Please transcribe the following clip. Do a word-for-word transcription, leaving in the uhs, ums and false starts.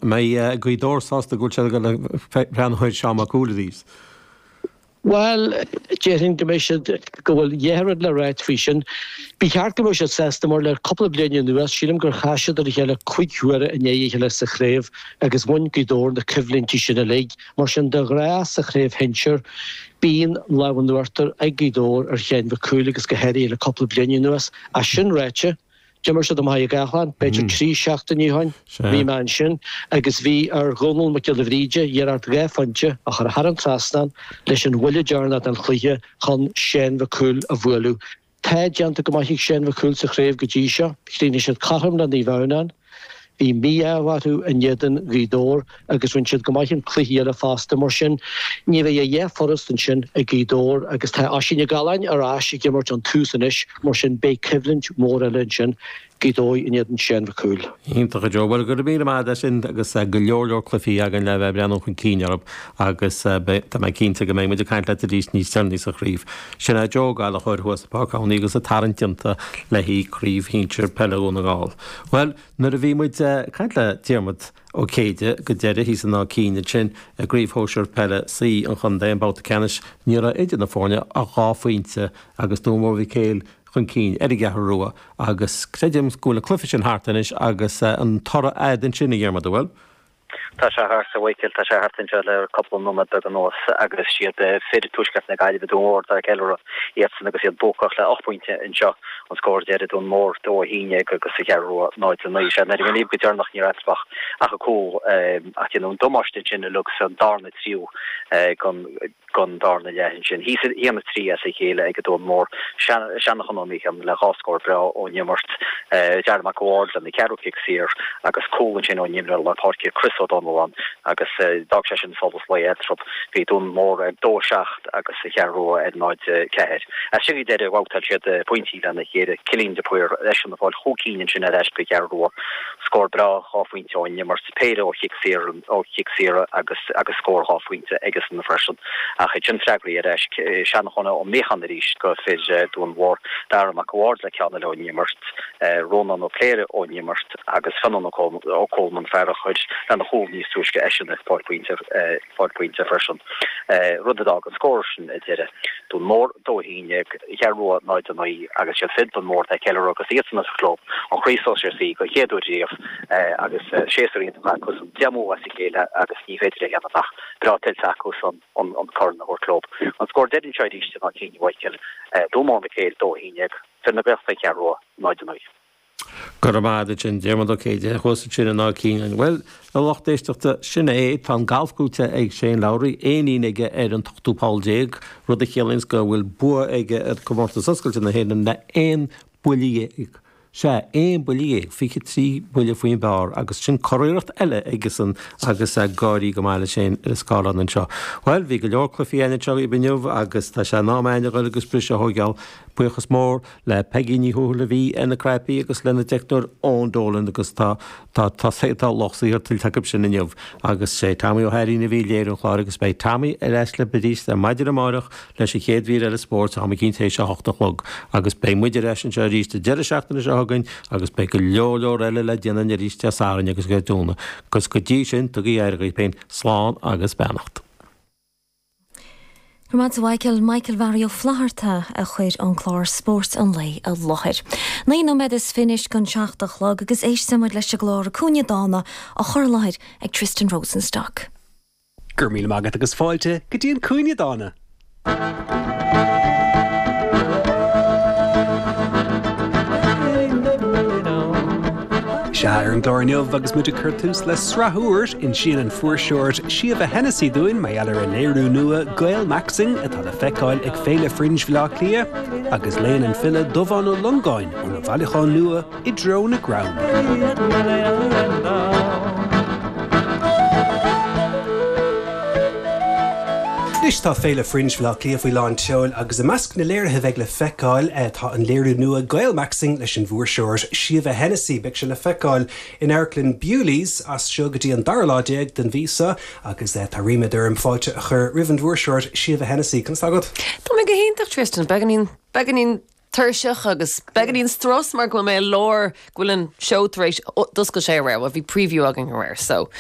Mbeidh Gaoth Dobhair sásta go bhfuil siad ag dul ag breathnú ar Seán Mac Cumhaill arís? Bhuel, déarfainn go mbeidh siad, go bhfuil dhá rud le ráit faoi sin. Ba cheart go mbeadh siad sásta mar le cúpla bliain anuas, sílim gur chas siad ar a chéile cúig huaire i ndiaidh a chéile sa chraobh agus bhain Gaoth Dobhair na coimhlintí sin uilig. Mar sin, de ghnáth sa chraobh shinsir, bíonn lámh in uachtar ag Gaoth Dobhair ar Sheán Mhic Cumhaill agus go háirithe le cúpla bliain anuas. Ach sin ráite, D'imir siad i mBaile Átha Cliath, b'fhéidir trí seachtainí ó shin, bhí mé ansin agus bhí ar Dhónal Mac Giolla Bhríde iarracht dhá phointe a chur thar an trasnán leis an bhuille deireanach den chluiche chun Seán Mhic Cumhaill a bhualadh. Tá déanta go maith ag Seán Mhic Cumhaill sa chraobh go dtí seo. Chríochnaigh siad cothrom le Naomh Adhamhnáin. Bhí mí-ádh orthu in éadan Ghaoth Dobhair agus rinne siad go maith an cluiche eile fosta. Mar sin, ní bheidh a dhath furast ansin ag Gaoth Dobhair agus tá Oisín Ó Galláin ar ais ag imirt ón tús anois, mar sin beidh coimhlint mhór eile ansin, Gaoth Dobhair in éadan Seán Mhic Cumhaill. Iontach a Joe. Bhuel, go raibh míle maith agat as sin agus go leor leor cluichí againn le bheith ag breathnú chun cinn orthu agus tá mé cinnte go mbeidh muid ag caint leat arís níos deireanaí sa chraobh. Sin é Joe Ó Gallchóir thuas i bPáirc Adhamhnáin agus an tarraingt déanta le haghaidh Craobh Shinsir Peile Dhún na nGall. Bhuel, Nuair a bhí muid ag caint le Diarmuid Ó Céide go deireadh thíos in Áth Cinn ansin i gCraobh Shóisir Peile C an chontae, an babhta ceannais, ní raibh idir na foirne ach dhá phointe agus Dún Mór Mhic Éil chun cinn ar an gCeathrú Rua agus creidim go bhfuil an cluiche sin thart anois agus an toradh a'd ansin a Dhiarmuid, an bhfuil? Tá sé thart, a Mhichíl, tá sé thart anseo le cúpla nóiméad beag anuas agus siad fir Tuaisceart na Gaillimhe, Dún Mór, atá ag ceiliúradh iadsan agus iad buacach le ocht bpointe anseo, an scór deiridh, Dún Mór dó a haon déag agus an Cheathrú Rua náid a naoi. Sea, nuair a bhí go deireanach ní raibh eatarthu ach cúl ach déanadh an damáiste ansin uilig sa darna triú den don darna leath ansin. Thíos a haon a trí as a chéile ag Dún Mór. Seanchán Ó Mícheáin le dhá scór breá ón imirt. Darragh Mac a' Bhaird lena cheathrú cic saor agus cúl ansin ón imreoir lár páirce Chris O'Donnellan agus d'fhág sé sin solas lae eatarthu. Bhí Dún Mór ar dó a seacht agus an Cheathrú Rua ar náid a ceathair. As sin go deireadh bhabhtáil siad pointí lena chéile. Cillian de Paor eisean ag fáil chúig cinn ansin ar ais don Cheathrú Rua. Scór breá dhá phointe ón imirt. Péire ó chic saor ó chic saor agus agus scór dhá phointe aigesan freisin. Ach ansin freagraí ar ais Seanchán Ó Míocháin arís do fir Dún Mhór, Dara Mac a' Bhaird le ceann eile ón imirt, Rónán Ó Cléirigh ón imirt agus Fionnán Ó Colman, fear a chuir lena chúl níos túisce eisean ag fáil pointe fáil pointe freisin. Rud a d'fhág an scór sin ar deireadh. Dún Mór dó a haon déag, Cheathrú Rua náid a naoi agus siad fir Dún Mór atá ag ceiliúradh agus iadsan a thug leo an Chraobh Sóisir C den chéad uair riamh agus séasúr iontach acusan, deich mbua as a chéile agus ní féidir a dhéanamh ach breá tuillte acusan an corn a thabhairt leo. An scór deiridh anseo arís in Áth Cinn, a Mhichíl, Dún Mór Mhic Éil dó a haon déag, fir na Gaeltachta an Cheathrú Rua náid a naoi. Go raibh maith agat ansin, Diarmuid Ó Céide, thuas ansin in Áth Cinn. Bhuel, a lucht éisteachta, sin é, tá an galf buaite ag Shane Lowry, éinín aige ar an t-ochtú poll déag, rud a chiallaíonns go bhfuil bua aige ar Chomórtas Oscailte na hÉireann le aon buille dhéag. Sea, aon buille dhéag, fiche trí buille faoin bpar, agus sin curiarracht eile aigesan agus gáirí go maith le Shane ar an scáileán anseo. Bhuel, bhí go leor cluichí againn anseo inniu agus tá sé in am againn a dhul agus briseadh a thóigeáil. Buíochas mór le Peigí Ní Thuathail a bhí ar na cnaipí agus lena dteicneoir Eoin Dolan agus tá tá tá tá lucht saothair tuillte acu sin inniu agus sé Tommy Ó hAirín a bhí ag léiriú an chláir agus beidh Tommy ar ais libh arís ar maidin amárach leis an chéad mhír eile spóirt am eicínt théis a hocht a chlog agus beidh muid ar ais anseo arís an deireadh seachtaine seo chugainn agus beidh go leor leor eile le déanamh arís Dé Sathairn agus Dé Domhnaigh agus go dtí sin tugaigí aire dhaoibh féin slán agus beannacht. Go raibh maith agat a Mhichael, Michael Mhary Ó Flatharta a chuir an clár Spórt an Lae i láthair. Naoi nóiméad is fiche anois don seacht a chlog agus éistfidh muid leis an gclár An Cúinne Dána á chur i láthair ag Tristan Rosenstock. Go raibh míle maith agat agus fáilte go dtí an Cúinne Dána! Sea, ar an gclár inniu agus muid ag cur tús le sraith úr, insíonn an fuirseoir Síomha Hennessy dúinn mar gheall ar a léiriú nua Gaelmaxxing atá le feiceáil ag Féile Fringe Bhaile Átha Cliath agus léann an file Dubhán Ó Longáin óna bhailiúchán nua I dTreo na gCrann. Anois tá Féile Fringe Bhaile Átha Cliath faoi lán tseoil agus i measc na léirithe a bheidh le feiceáil tá an léiriú nua Gaelmaxxing leis an bhfuirseoir Síomha Hennessy. Beidh sé le feiceáil in Amharclann Bewley's as seo go dtí an dara lá déag den mhí seo agus tá ríméad orm fáilte a chur roimh an bhfuirseoir Síomha Hennessy. Conas tá agat? Tá mé go hiontach Tristan, beagáinín, beagáinín tuirseach agus beagáinín strus mar go bhfuil mé i lár, go bhfuil an seó tar éis, d'oscail sé aréir, bhuel bhí preview againn aréir so.